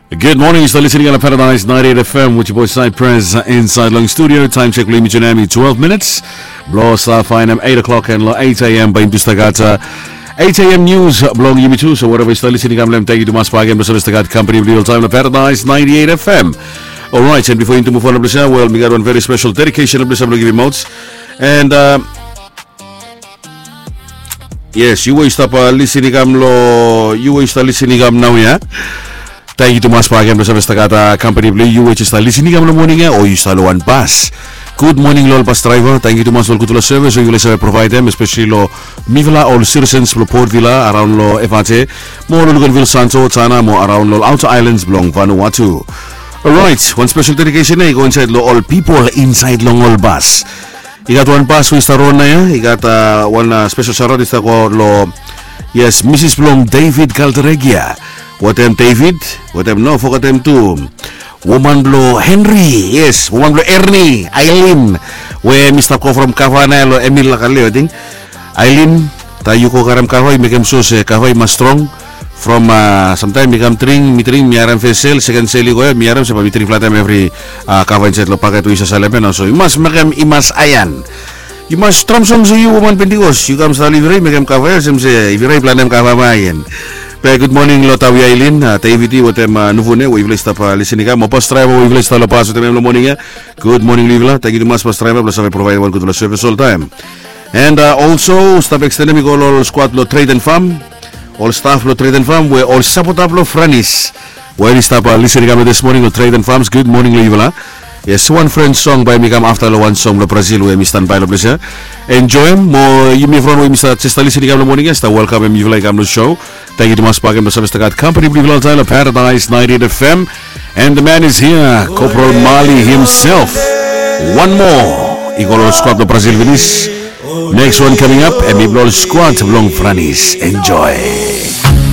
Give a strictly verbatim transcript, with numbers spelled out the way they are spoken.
Good morning, yu stap listening long Paradise ninety-eight F M with your boy Cypress, uh, inside long studio. Time check blong yumi tu nao hemi twelve minutes blong stap faenem eight o'clock, and long eight a.m. bae yumi tu stap gat, uh, eight a.m. news blong yumi tu. So wherever yu stap listening, kam long hem, tangkiu tumas bakegen blong save stap gat kampani blong yu oltaem long Paradise ninety-eight F M. Alright, and bifo yumi tu move on long ples ia, well, mi gat wan very special dedication long ples ia blong givim out. And, uh, yes, yu we yu stap, uh, listening kam long, yu we yu stap listening kam naoia. Tangkiu tumas bakegen blong save stap gat, uh, kampani blong yu we yu stap listening kam long moning ia, o yu stap long wan bas. Good morning long ol bas draeva. Tangkiu tumas long ol gudfala sevis we yufala save provaedem, especially long mifala ol citizens blong Port Vila, araon long F R T, mo long Luganville, Santo, Tanna, mo araon long ol outer islands blong Vanuatu. Alright, wan special dedication ia i go insaed long ol pipol insaed long ol bas. I gat wan bas we i stap ron naoia, i gat, uh, wan, uh, special shout out i stap go long, yes, misis blong David Calderegia. Wetem David, wetem, no fogetem tu woman blong Henry, yes, woman blong Ernie, Aileen, we hemi stap go from kava naoia long Emil Lakaleo, ating. Aileen, taem yu go karem kava, yu mekem sua se kava i mas strong. From, uh, samtaem mi kam dring, mi dring, mi harem fes sel, seken sel i go ia, mi harem se bae mi dring fulataem evri, uh, kava insaed long paket we yu save salem ia. So yu mas mekem i mas aean. Yu mas stram strong se yu woman Pentecost, yu kam stap long Ivirei mekem kava ia, olsem se Ivirei i planem kava bae aean. Be good morning long Tawi, Aileen, uh, David i wetem, uh, Nuvune we yufala i stap, uh, listening kam, mo bas draeva we yufala i stap long bas wetem hem long moning ia. Good morning long yufala. Tangkiu tumas bas draeva blong save provaed wan gudfala sevis oltaem. And, uh, also stap ekstenem i go long ol skwad blong Trade and Farm, ol staf blong Trade and Farm, we ol sapota blong Franis we oli stap, uh, listening kam long this morning long Trade and Farms. Good morning long yufala. Yes, wan French song bae hemi kam afta long wan song blong Brazil we hemi stanbae long ples ia. Enjoem, mo yumi evriwan we yumi stap jes stap listening kam long moning ia, stap welkamem yufala i kam long show. Tangkiu tumas bakegen blong save stap gat kampani blong yufala oltaem long Paradise ninety-eight F M. And the man is here, Corporal Mali himself. Wan moa i go long skwad blong Brazil finis. Next one coming up, hemi blong ol skwad blong Franis. Enjoy.